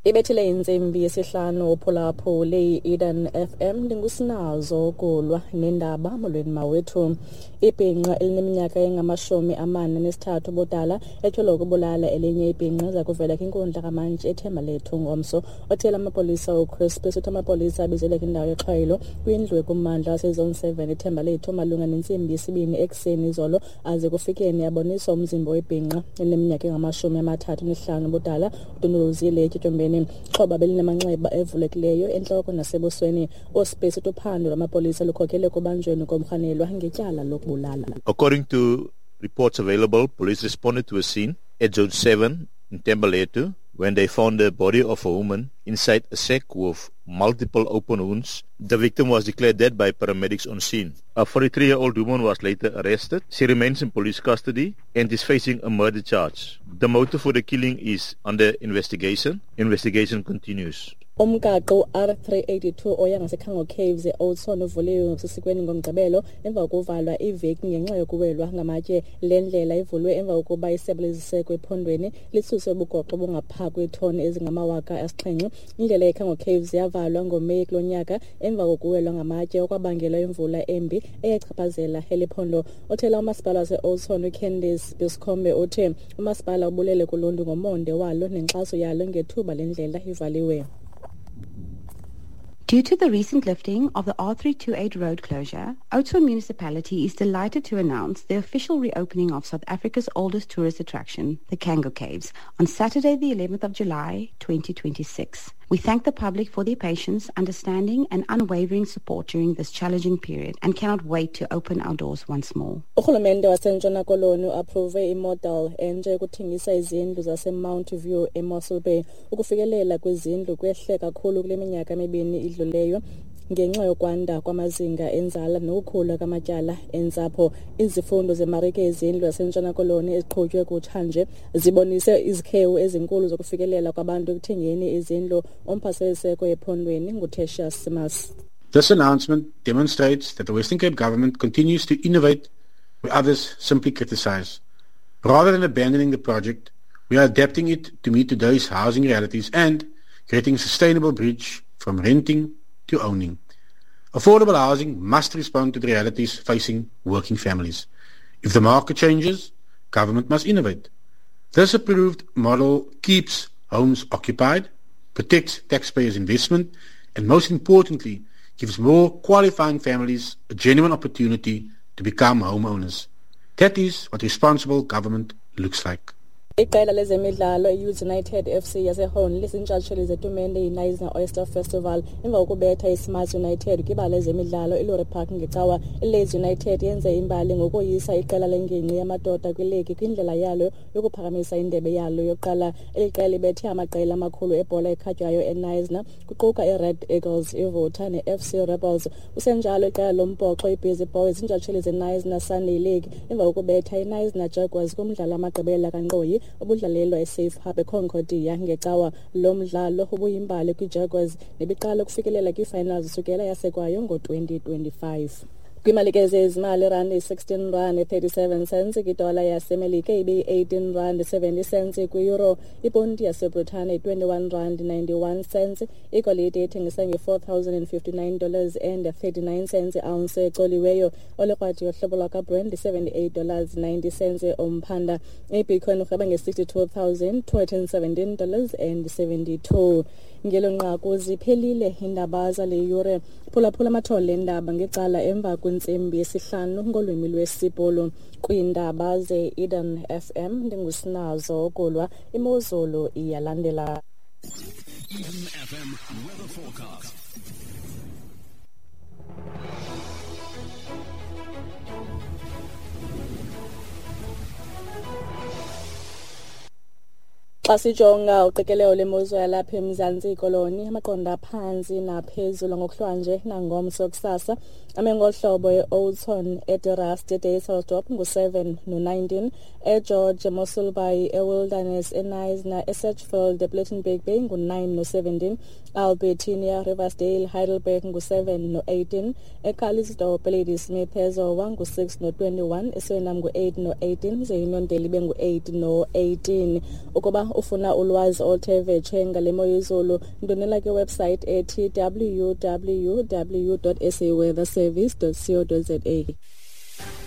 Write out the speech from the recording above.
Ibethile intsimbi yesihlanu uphulaphule i-Eden FM. Ndingusinazo kulwa nendaba. Molweni mawethu. Ibhinqa elineminyaka engama-43 ubudala etyholwa ukubulala elinye ibhinqa iza kuvela kwinkundla kamantyi eThembalethu ngomso. Othela amapolisa uChris uthi amapolisa abizelwe kwindawo yexhwayelo kwindlu ekummandla waseZone 7 eThembalethu malunga nentsimbi yesibini ekuseni izolo, aze kufikeni aboniswa umzimba webhinqa elineminyaka engama-35 ubudala udunduluzile etyotyombeni. Ixhoba belinamanxeba evulekileyo entloko nasebusweni. USpace uthi uphando lwamapolisa lukhokele ekubanjweni komrhanelwa ngetyala lokubulala. According to reports available, police responded to a scene at Zone 7 in Thembalethu when they found the body of a woman inside a sack with multiple open wounds. The victim was declared dead by paramedics on scene. A 43-year-old woman was later arrested. She remains in police custody and is facing a murder charge. The motive for the killing is under investigation. Investigation continues. Umgaqo u-R382 oya ngaseKhango Caves e-Oudtshoorn uvuliwe ngokusesikweni ngoMgqibelo emva kokuvalwa iveki ngenxa yokuwelwa ngamatye. Le ndlela ivulwe emva kokuba isebe leziseko ephondweni lisuse ubugoxo obungapha kweetoni ezingama-7,000. Indlela yeKhango Caves yavalwa ngoMeyi kulo nyaka emva kokuwelwa ngamatye okwabangelwa imvula embi eyachaphazela eli phondo. Othela umasipala wase-Oudtshoorn uCandice Buscombe uthe umasipala ubulele kuluntu ngomonde walo nenkxaso yalo ngethuba le ndlela ivaliwe. Due to the recent lifting of the R328 road closure, Oudtshoorn Municipality is delighted to announce the official reopening of South Africa's oldest tourist attraction, the Cango Caves, on Saturday the 11th of July, 2026. We thank the public for their patience, understanding and unwavering support during this challenging period and cannot wait to open our doors once more. Urhulumente waseNtshona Koloni uapprove imodel entsha yokuthengisa izindlu zaseMount View eMossel Bay. Ukufikelela kwizindlu kwehle kakhulu kule minyaka mibini idluleyo ngenxa yokwanda kwamazinga enzala nokukhula kwamatyala entsapho. Izifundo zemarike yezindlu yaseNtshona Koloni eziqhutywe kutshanje zibonise izikhewu ezinkulu zokufikelela kwabantu ekuthengeni izindlu. Umphathiswa ephondweni nguTertuis Simmers. This announcement demonstrates that the Western Cape government continues to innovate where others simply criticize. Rather than abandoning the project, we are adapting it to meet today's housing realities and creating a sustainable bridge from renting to owning. Affordable housing must respond to the realities facing working families. If the market changes, government must innovate. This approved model keeps homes occupied, protects taxpayers' investment, and most importantly, gives more qualifying families a genuine opportunity to become homeowners. That is what responsible government looks like. Iqela lezemidlalo i-Youth United FC yaseHorn lizintshatsheli zetumente iKnysna Oyster Festival emva kokubetha iSmart United kwibala lezemidlalo iLory Park ngecawa. ILeeds United yenze imbali ngokoyisa iqela lengingqi yamadoda kwiligi kwindlela yalo yokuphakamisa indebe yalo yokuqala. Eli qela libethe amaqela amakhulu ebhola ekhatywayo eKnysna kuquka iRed Eagles, iVota ne-FC Rebels. Kusenjalo, iqela lombhoxo iBusy Boys ziintshatsheli zeKnysna Sunday League emva kokubetha iKnysna Jaguars kumdlalo wamagqibela kankqoyi obudlalelwa eSafe Hub eConcordia ngecawa. Lo mdlalo ubuyimbali kwiJaguars nebiqala ukufikelela kwiifinals sukela yasekwayo ngo-2025. Kwimalike zezimali, irandi 16 rand 37 cents kwidola yaseMelika, ibeyi-18 rand 70 cents kwi-euro, iponti yaseBritane 21 rand 91 cents. Igolide ithengisa nge-$4,059 and 39 cents ounce ecoliweyo. Olikrwadi yohlobo lwakaBrent $78 90 cents umphanda. Ibitcoin urhweba nge-$62,217 and 72. Ngelo nqaku ziphelile iindaba zale yure. Phulaphula amathole endaba ngecala emva kwentsimbi yesihlanu ngolwimi lwesiBhulu. Kwiindaba ze-Eden FM ndingusinazo Kulwa. Imozulu iyalandela. Eden FM weather forecast. Xa sijonga uqikelelo lwemozulu yalapha eMzantsi Koloni, amaqondo aphantsi naphezulu ngokuhlwanje nangomso kusasa. Ame ngohlobo e-Oudtshoorn, eDe-Rust, eDysselsdorp ngu-7 no-19, eGeorge, eMossel Bay, eWilderness, eKnysna, eSedgefield, ePlettenberg Bay ngu-9 no-17, Albertinia, Riversdale, Heidelberg ngu-7 no-18, eCalitzdorp, eLadysmith, eZowa ngu-6 no-21, eSurinam ngu-8 no-18, ze iNondeli ibe ngu-8 no-18. Ukuba ufuna ulwazi oluthe vetshe ngale mo yezulu, ndonela kwiwebsite ethi www.saweatherservice.co.za.